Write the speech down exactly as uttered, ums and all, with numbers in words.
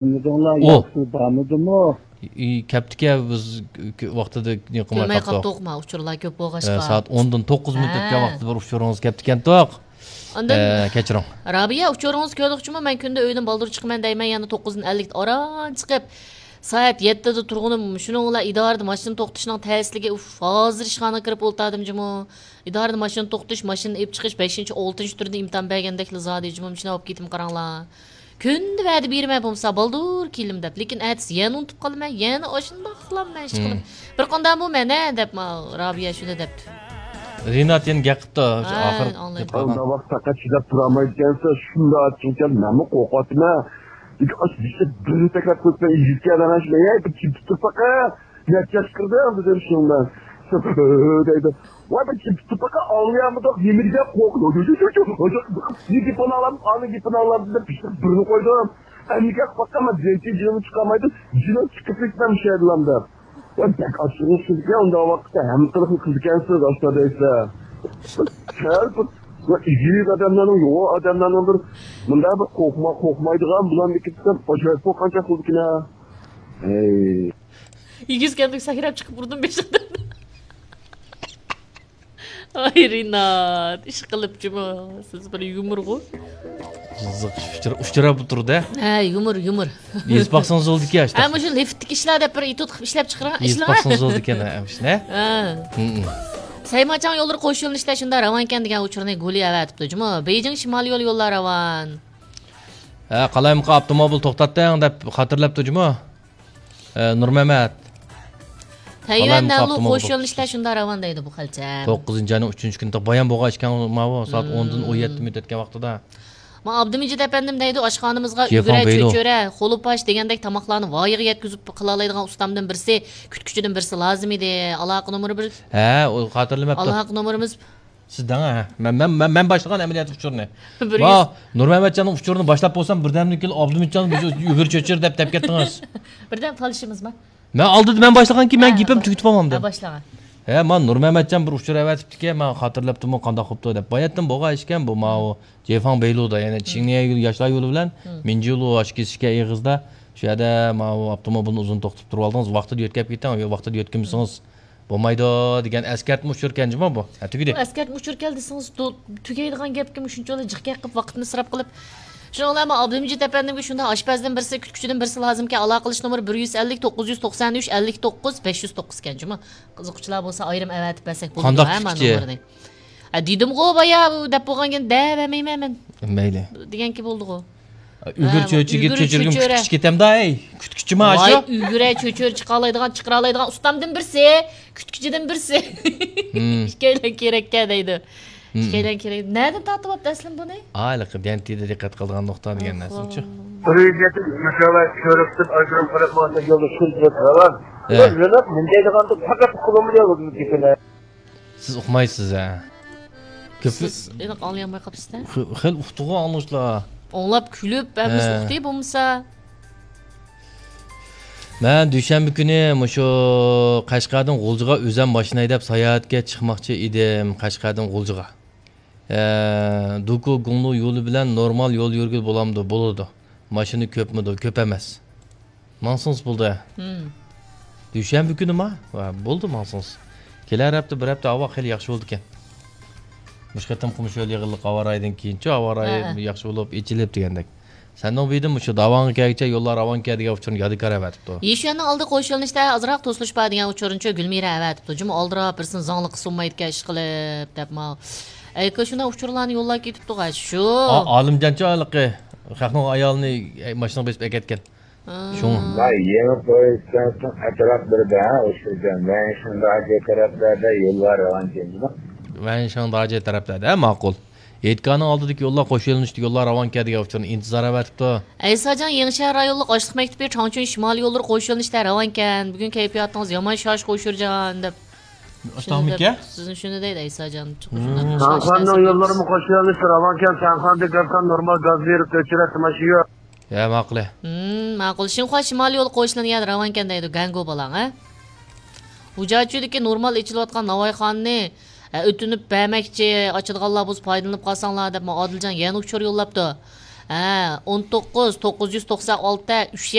ئۇ ياخشى بارمىدىمۇ؟ ئى، كەپتىكەن، بىز ك-، ۋاقتىدا نېمە قىلماي كۆرمەي قاپتۇق. قاپتۇق، ما ئۇچۇرلار كۆپ بولغاچقا. ئە، سائەت ئوندىن توققۇز مىنۇت ھە. ئۆتكەن ۋاقتىدا بىر ئۇچۇرىڭىز كەپتىكەنتۇق. ئاندىن ئە، كەچۈرۈڭ. رابىيە، ئۇچۇرىڭىز كۆرلۈقچىمۇ؟ مەن كۈندە ئۆيدىن بالدۇر چىقىمەن دەيمەن، يەنە توققۇزدىن ئەللىكتە ئاران چىقىپ، سائەت يەتتىدە تۇرغىنىم، شۇنىڭ بىلەن ئىدارىدە ماشىنا توختىتىشنىڭ تەسلىكى، ئۇف، ھازىر ئىشخانىغا كىرىپ ئولتۇردۇم جۇمۇ. ئىدارىدە ماشىنا توختىتىش، ماشىنا ئېلىپ چىقىش، بەشىنچى، ئالتىنچى تۈردە ئىمتىھان بەرگەندەكلا زادى جۇمۇ، مۇشۇنداق بولۇپ كېتىم قاراڭلار. كۈندە ۋەدە بېرىمەن بولمىسا، بالدۇر كېلىمەن دەپ، لېكىن ئەتىسى يەنە ئۇنتۇپ قالىمەن، يەنە ئاشۇنداقلا مەن ئىش قىلىپ. بىر قانداق بۇ مەن ھە دەپ، ما، رابىيە شۇنداق دەپتۇ. رىنات يەنە گەپ قىپتۇ، ھە، ئاخىر ئاڭلايمەن. گەپ قىلغان. ئۇنداق ۋاقىت پەقەت چىداپ تۇرالمايدىكەنسىز، شۇنداق ئاچچىقكەن، مەنمۇ قورقاتتىم ھە. لېكىن ئاشۇ بىرنى تەكرار قىلسا، يىگىتكە ئادەم شۇنداق، يە بىر چىدىپ تۇر پەقەت. نەچچە ياش كىردىڭ دېدىم شۇنىڭ بىلەن. دەيدۇ. ۋاي بىر چىدىپ تۇر پەقەت، ئاڭلىيالمىدۇق، نېمە دېگەن قورقۇنچ. نېمە گېپىنى ئاڭلام، ئانا گېپىنى ئاڭلام دېدىم، پىششىق بىرنى قويدۇم. ئەمدى گەپ باققانما، جىنىم چىقالمايدۇ، جىنىم چىقىپ كېتىمەن مۇشۇ يەردىن دەپ. ۋاي بەك ئاچچىقىڭىز كېلىدىكەن، ئۇنداق ۋاقىتتا ھەممە قىلىقنى قىلىدىكەنسىز، ئاشۇنداق دەيسىلەر. سەل بىر، ۋاي ئىگىلىك ئادەملەرنىڭ، يوغان ئادەملەرنىڭ بىر مۇنداق بىر قورقما-، قورقمايدىغان بۇلارنى كېتىپ، ئاشۇ بولغانچە قىلىدىكىنە. ھەي. ئېگىز كەلدىم، سەكرەپ چىقىپ ئۇردۇم بېشىڭدىن. ئاي رىنات، ئىش قىلىپ جۇمۇ. سىز بىر يۇمۇرغۇ. قىزىق ئۇچۇر، ئۇچۇر بولۇپ تۇرىدۇ. ھە، يۇمۇر، يۇمۇر. يېزىپ باقسىڭىز بولىدىكەن، ھە، مۇشۇ لىفتتىكى ئىشلار دەپ بىر ئېتيۇد قىلىپ ئىشلەپ چىقىرىڭ. يېزىپ باقسىڭىز بولىدىكەن، ھە، مۇشۇنى. ھە. سەيماچاڭ يوللىرى قوش يۆنىلىشلەر شۇنداق راۋانكەن دېگەن ئۇچۇرنى گۇلى ئەۋەتىپتۇ جۇمۇ. بېيجىڭ شىمالىي يول يوللار راۋان. ھە، قالايمىقان ئاپتوموبىل توختاتتىڭ دەپ خاتىرىلەپتۇ جۇمۇ. ئە، نۇرمەمەت. تەيۋەن نەنلۇ قوش يۆنىلىشلەر شۇنداق راۋان دەيدۇ بۇ خەلچەم. توققۇزىنچى ئاينىڭ ئۈچىنچى كۈنى بايان بولغان ئىكەن، ماۋۇ سائەت ئوندىن ئون يەتتە مىنۇت ئۆتكەن ۋاقتىدا. ما ئابدۇمىجىت ئەپەندىم دەيدۇ، ئاشخانىمىزغا ئۈگرە، چۆچۈرە، خولۇپاش دېگەندەك تاماقلارنى ۋايىغا يەتكۈزۈپ قىلالايدىغان ئۇستامدىن بىرسى، كۈتكۈچىدىن بىرسى لازىم ئىدى. ئالاقە نومۇرى بىر. ھە، ئۇ خاتىرىلىمەپتۇ. ئالاقە نومۇرىمىز سىز دەڭ، ھە. مەن، مەن، مەن، مەن باشلىغان ئەمەلىيەت ئۇچۇرىنى. بىر يۈز. ۋا، نۇرمەمەتجاننىڭ ئۈچۈرىنى باشلاپ بولسام، بىردەمدىن كېيىن ئابدۇمىتجان بىز ئۈگرە چۆچۈر دەپ، دەپ كەتتىڭىز. بىردەم تالىشىمىزما؟ مەن ئالدىدا مەن باشلىغانكىن، مەن ھە، گېپىم تۈگىتىپ بولمامدۇ؟ ھە، باشلىغان. ھە، مانا نۇرمەمەتجان بىر ئۇچۇر ئەۋەتىپتىكەن، مەن خاتىرىلەپتىمۇ، قانداق قوپتۇ دەپ. باياتتىن بولغان ئىشكەن بۇ، ماۋۇ جېفاڭ بەيلۇدا، يەنى چىڭنىيە يول، ياشلار يولى بىلەن مىنجىلۇ ئاشۇ كېسىشكەن ئېغىزدا، شۇ يەردە ماۋۇ ئاپتوموبىلنى ئۇزۇن توختىتىپ تۇرۇۋالدىڭىز، ۋاقتىدا يۆتكەپ كېتىڭ، يو-، ۋاقتىدا يۆتكىمىسىڭىز، بولمايدۇ دېگەن ئەسكەرتمە ئۇچۇركەن جۇمۇ بۇ. ھە، تۈگىدى. بۇ ئەسكەرتمە ئۇچۇركەن دېسىڭىز، تو-، تۈگەيدىغان گەپكىمۇ شۇنچىۋالا جىق گەپ قىلىپ، ۋاقىتنى ئىسراپ قىلىپ. شۇنىڭ بىلەن مەن ئابدۇمىجىت ئەپەندىمگە شۇنداق ئاشپەزدىن بىرسى، كۈتكۈچىدىن بىرسى لازىمكەن، ئالاقىلىشىش نومۇرى بىر يۈز ئەللىك، توققۇز يۈز توقسان ئۈچ، ئەللىك توققۇز، بەش يۈز توققۇز ئىكەن جۇمۇ. قىزىققۇچىلار بولسا ئايرىم ئەۋەتىپ بەرسەك بولىدۇ، قانداق ھە، مانا كۈتكۈچى؟ نومۇرنى. ھە، دېدىمغۇ بايا، دەپ بولغانكىن دەۋەرمەيمەن مەن. مەيلى. دېگەنكى بولدىغۇ. ئۈگرە ھە، چۆچۈرىگە ئۈگرە چۆچۈرگىمۇ چۆچۈرە. كۈتكۈچى كېتەمدۇ، ئەي؟ كۈتكۈچىمۇ ۋاي، ئاشۇ؟ ئۈگرە چۆچۈرە چىقالايدىغان، چىقىرالايدىغان ئۇستامدىن بىرسى، كۈتكۈچىدىن بىرسى. مم. ئىككىيلەن كېرەككەن دەيدۇ. مم. ئىككىيلەن كېرەك. نەدىن تارتىۋاپتۇ ئەسلىم بۇنى؟ ھېلىقى دەنتىدە دىققەت قىلىدىغان نۇقتا دېگەن نەرسىچۇ. ئوخۇ. بىر يۈز يەتمىش ماشىنىلار كۆرۈپ تۇرۇپ، ئايرىم قىلىپ ماڭسا يولدا شۇنچىلىك راۋان. ھە. بىر يۆنەپ مۇندايدىغاندا پەقەت قۇلۇمدا يولدا كېتىمەن. سىز ئۇقمايسىز ھە. كۆپى سىز ئېنىق ئاڭلىيالماي قاپسىز-دە. خېلى ئۇقتىغۇ ئاڭلىغۇچىلار. ئاڭلاپ كۈلۈپ، ھەممىسى ھە. ئۇقتى بولمىسا. مەن دۈشەنبە كۈنى مۇشۇ قەشقەردىن غۇلجىغا ئۆزۈم ماشىنا ھەيدەپ ساياھەتكە چىقماقچى ئىدىم، قەشقەردىن غۇلجىغا. ھە، دۇكۇ گۇڭلۇ يولى بىلەن نورمال يول يۈرگىلى بولامدۇ؟ بولىدۇ. ماشىنا كۆپمىدۇ؟ كۆپ ئەمەس. ماڭسىڭىز بولدى. ھىم. دۈشەنبە كۈنىما؟ ۋە، بولدى، ماڭسىڭىز. كېلەر ھەپتە، بىر ھەپتە ھاۋا خېلى ياخشى بولىدىكەن. مۇشۇ قېتىمقى مۇشۇ يىل يېغىنلىق ھاۋا رايىدىن كېيىنچۇ، ھاۋا رايى ھە، ھە. ياخشى بولۇپ، ئېچىلىپ دېگەندەك. سەننىڭ بىدىن مۇشۇ داۋاڭغا كەلگۈچە يوللار راۋانكەن دېگەن ئۇچۇرنى يادىكار ئەۋەتىپتۇ. يىشۈەننىڭ ئالدى قوشۇلۇشتا ئازراق توسۇلۇش بار دېگەن ئۇچۇرنىچۇ گۈلمىرە ئەۋەتىپتۇ. جۇمۇ ئالدىراپ بىرسىنى زاڭلىققا سۇنمايدىكەن ئىشقىلىپ دەپ ماۋۇ. ئەي، شۇنداق ئۇچۇرلارنى يوللاپ كېتىپتۇ، شۇ. ئا-، ئالىمجانچۇ ھېلىقى خەقنىڭ ئايالىنى، ئەي، ماشىنىغا بېسىپ ئەكەتكەن. شۇڭا. ۋاي، يېڭى پويىزچانسىڭ ئەتراپ بىردە، ھە، ئوشۇرجان. ۋەنشىڭداجې تەرەپلەردە يوللار راۋانكەن جۇمۇ. ۋەنشىڭداجې تەرەپلەردە، ھە، ماقۇل. ھېيتگاھنىڭ ئالدىدىكى يوللار قوش يۆنىلىشلىك يوللار راۋانكەن دېگەن ئۇچۇرنى ئىنتىزار ئەۋەتىپتۇ. ئەيساجان، يېڭىشەھەر رايونلۇق ئاشلىق مەكتىپى چاڭچۈن شىمالىي يوللىرى قوش يۆنىلىشتە راۋانكەن. بۈگۈن كەيپىياتىڭىز يامان شاش، ئوشۇرجان، دەپ. ئاشتاڭمىكەن؟ سىزنى شۇنى دەيدۇ ئەيساجان. ھىم. شاڭخەننىڭ يوللىرىمۇ قوش يۆنىلىشتە راۋانكەن. شاڭخەندىن كەلسەم نورمال گاز بېرىپ كۆچۈرەتتى ماشىنا يوق. ھە، ماقۇل. ھىم، ماقۇل. شىنخۇا شىمالىي يولى قوشۇلىدىغان يەردە راۋانكەن دەيدۇ گەنگۇ بالاڭ، ھە؟ ھۇجاچۈدىكى نورمال ئېچىلىۋاتقان ناۋايخانىنى، ھە، ئۆتۈنۈپ بەرمەكچى، ئاچىدىغانلار بولسا پايدىلىنىپ قالساڭلار دەپ، ما ئادىلجان يەنە ئۇچۇر يوللاپتۇ. ھە، ئون توققۇز، توققۇز يۈز توقسان ئالتە، ئۈچ